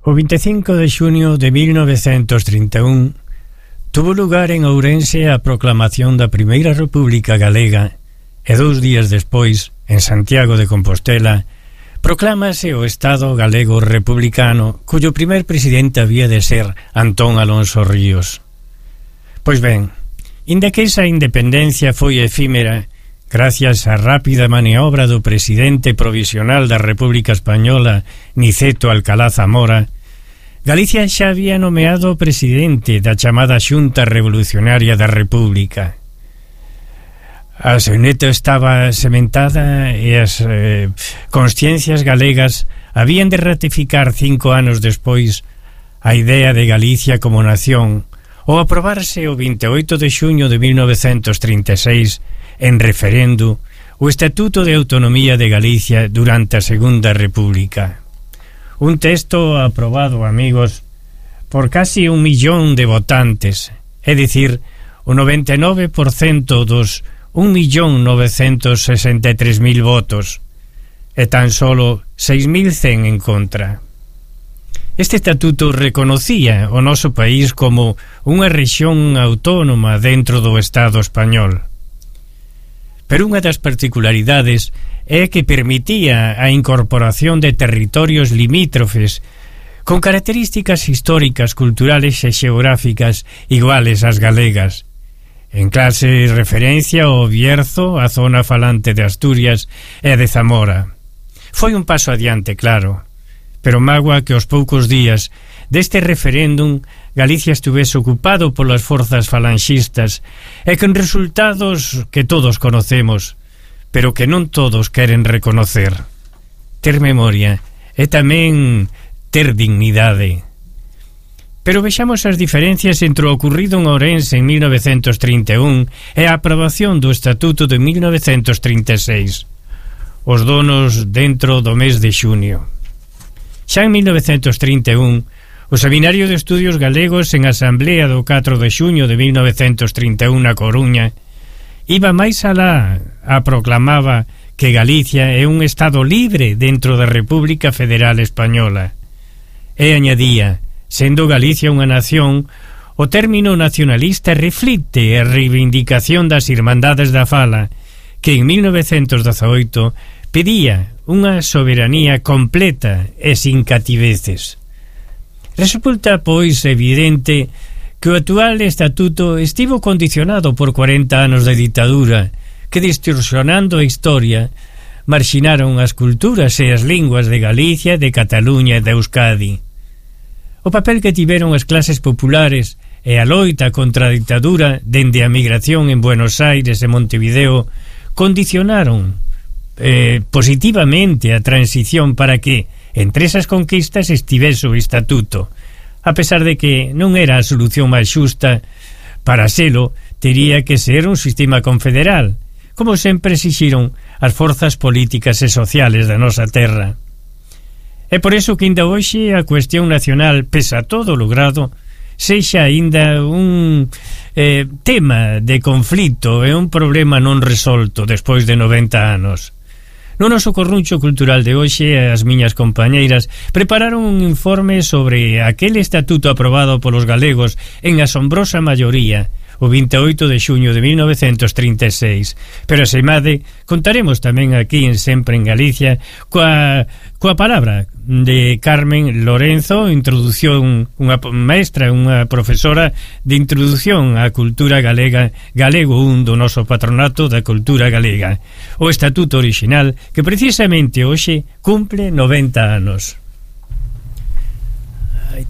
O 25 de xunio de 1931 tuvo lugar en Ourense a proclamación da Primeira República Galega e 2 días despois, en Santiago de Compostela, proclámase o Estado galego republicano, cuyo primer presidente había de ser Antón Alonso Ríos. Pois ben, inda que esa independencia foi efímera, gracias á rápida maniobra do presidente provisional da República Española, Niceto Alcalá Zamora, Galicia xa había nomeado presidente da chamada Xunta Revolucionaria da República. A seuneta estaba sementada e as consciencias galegas habían de ratificar 5 anos despois a idea de Galicia como nación ou aprobarse o 28 de xuño de 1936 en referendo o Estatuto de Autonomía de Galicia durante a Segunda República. Un texto aprobado, amigos, por casi 1 millón de votantes, é dicir, o 99% dos 1.963.000 votos e tan solo 6.100 en contra. Este estatuto reconocía o noso país como unha rexión autónoma dentro do Estado español. Pero unha das particularidades é que permitía a incorporación de territorios limítrofes con características históricas, culturales e xeográficas iguales ás galegas. En clase referencia ao Bierzo, a zona falante de Asturias e a de Zamora. Foi un paso adiante, claro, pero mágoa que aos poucos días deste referéndum Galicia estuvese ocupado polas forzas falanxistas e con resultados que todos conocemos, pero que non todos queren reconocer. Ter memoria é tamén ter dignidade. Pero vexamos as diferencias entre o ocurrido en Ourense en 1931 e a aprobación do Estatuto de 1936. Os donos dentro do mes de xunio. Xa en 1931, o Seminario de Estudios Galegos en Asamblea do 4 de xuño de 1931 na Coruña iba máis alá, proclamaba que Galicia é un Estado libre dentro da República Federal Española. E añadía, sendo Galicia unha nación, o término nacionalista reflicte a reivindicación das Irmandades da Fala, que en 1918 pedía unha soberanía completa e sin cativeces. Resulta, pois, evidente que o actual estatuto estivo condicionado por 40 anos de ditadura que, distorsionando a historia, marxinaron as culturas e as linguas de Galicia, de Cataluña e de Euskadi. O papel que tiveron as clases populares e a loita contra a ditadura dende a migración en Buenos Aires e Montevideo condicionaron positivamente a transición para que entre esas conquistas estivese o estatuto, a pesar de que non era a solución máis xusta. Para selo tería que ser un sistema confederal, como sempre exixiron as forzas políticas e sociales da nosa terra. É por iso que ainda hoxe a cuestión nacional, pese a todo logrado, sexa ainda un tema de conflito e un problema non resolto despois de 90 anos. No noso corruncho cultural de hoxe, as miñas compañeiras prepararon un informe sobre aquel estatuto aprobado polos galegos en asombrosa maioría o 28 de xuño de 1936. Pero asemade, contaremos tamén aquí en Sempre en Galicia coa palabra de Carmen Lorenzo, introdución, unha maestra, unha profesora de introducción á cultura galega, Galego 1 do noso patronato da cultura galega, o estatuto orixinal que precisamente hoxe cumple 90 anos. Ai.